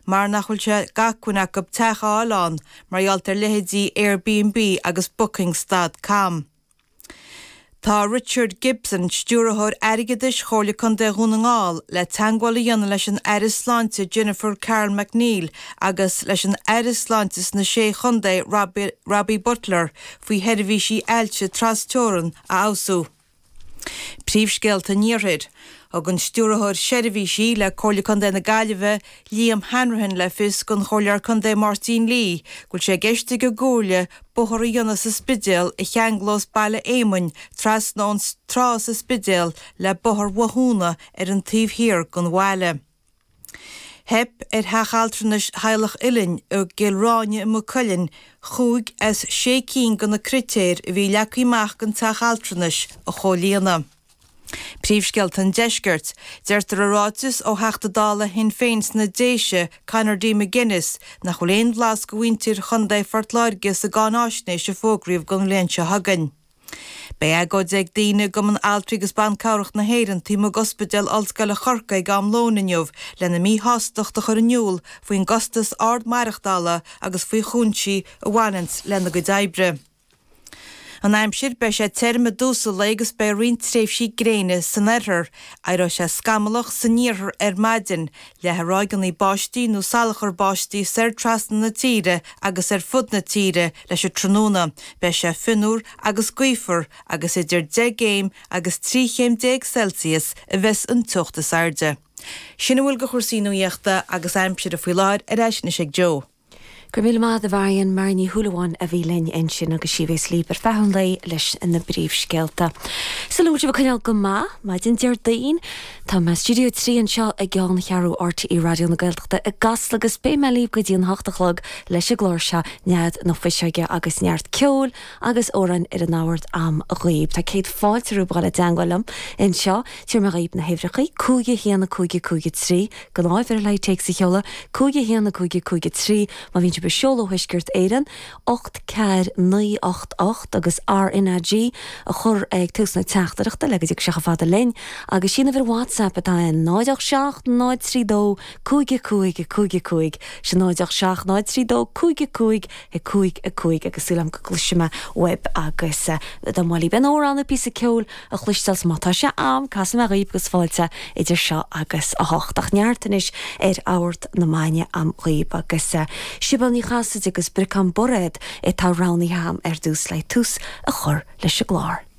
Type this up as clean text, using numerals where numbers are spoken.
mar nach bhfuil sé d'acmhainn acu teach a fháil ann mar gheall ar leithéidí Airbnb agus Bookings dot com. Tá Richard Gibson, Stiúrthóir Airgeadais Chomhairle Contae Dhún na nGall, le teagmháil a dhéanamh leis an Aire Sláinte Jennifer Carroll MacNeill agus leis an Aire Sláinte sna Sé Chontae Robbie Butler faoi sheirbhísí ailse tras-teorann a fheabhsú. Príomhscéalta an Iarthair. Thug an Stiúrthóir Seirbhísí le Comhairle Contae na Gaillimhe, Liam Hanrahan le fios don Chomhairleoir Contae Máirtín Lee go bhfuil sé i gceist ag an gComhairle bóthar a dhéanamh sa Spidéal a cheanglós Baile Éamainn trasna ón trá sa Spidéal le Bóthar Bhothúna ar an taobh thiar den bhaile. Theip ar theach altranais Theaghlach Uilinn i gCill Ráine i Maigh Cuilinn chúig as sé cinn de na critéir a bhí leagtha amach don teach altranais a chomhlíonadh. Príomhscéalta an Deiscirt. Deirtear i ráiteas ó Theachta Dála Shinn Féin sna Déise, Conor D. McGuinness, nach bhfuil aon bhlas do mhuintir Chontae Phort Láirge sa gcáináisnéis a fógraíodh don bhliain seo chugainn. Beidh agóid ag daoine i gCumann Altraí agus Ban Cabhrach na hÉireann taobh amuigh d'Ospidéal Ollscoile Chorcaí ag am lóin inniu lena míshástacht a chur in iúl faoin gcostas ard maireachtála agus faoi chúinsí a bhaineanns lena gcuid oibre. An aimsir, Beidh sé tirim i dtús an lae agus beidh roinnt tréimhsí gréine san oirthear. Éireoidh sé scamallach san iarthar ar maidin. Leathfaidh ráigeanna báistí nó salachar báistí soir trasna na tíre agus ar fud na tíre leis an tráthnóna. Beidh sé fionnuar agus gaofar agus idir 10 gcéim agus 13 chéim Celsius a bheas an teocht is airde. Sin a bhfuil de chúrsaí nuaíochta agus aimsire faoi láthair, ar ais anois ag Joe. Go raibh míle maith agat a Mharion, Marion Ní Shúilleabháin a bhí linn ansin agus sí a bhéas libh ar feadh an lae leis na bpríomhscéalta. Súil agam go bhfuil sibh ag coinneáil go maith, maidin Déardaoin. Tá mé i Stiúideo 3 anseo i gceanncheathrú RTÉ Raidió na Gaeltachta i gCasla agus beidh mé libh go dtí an hocht a chlog leis an gclár seo, Nead na Fuiseoige agus neart ceoil agus amhráin ar an mbord a'm dhaoib. Tá céad fáilte romhaibh a dhul i dteangmháil liom anseo. Tabharfaidh mé dhaoib na huimhreachaí, 5 1 5 5 3, Gnáth-uimhir le téacs a sheoladh, 5 1 5 5 3, má bhíonn sibh ag seoladh ó Thuaisceart Éireann, 8 4 9 8 8 agus RnaG a chur ag tús na teachtaireachta le go dtiocfaidh sé chomh fada linn. Agus sí an uimhir WhatsApp atá ann, 0 8 7 0 3 2 5 5 5 5, sin 0 8 7 0 3 2 5 5 5 5 agus súil agam go gcloisfidh mé uaibh agus dá mba mhaith libh aon amhrán nó píosa ceoil a chloisteáil 's má tá sé a'm, casfaidh mé dhaoib agus fáilte idir seo agus a hocht. Ach neart anois ar Ord na Maidne a'm dhaoib agus Sibéal Ní Chasaide agus Briocán Bairéad atá roghnaithe a'm ar dtús le tús a chur leis an gclár.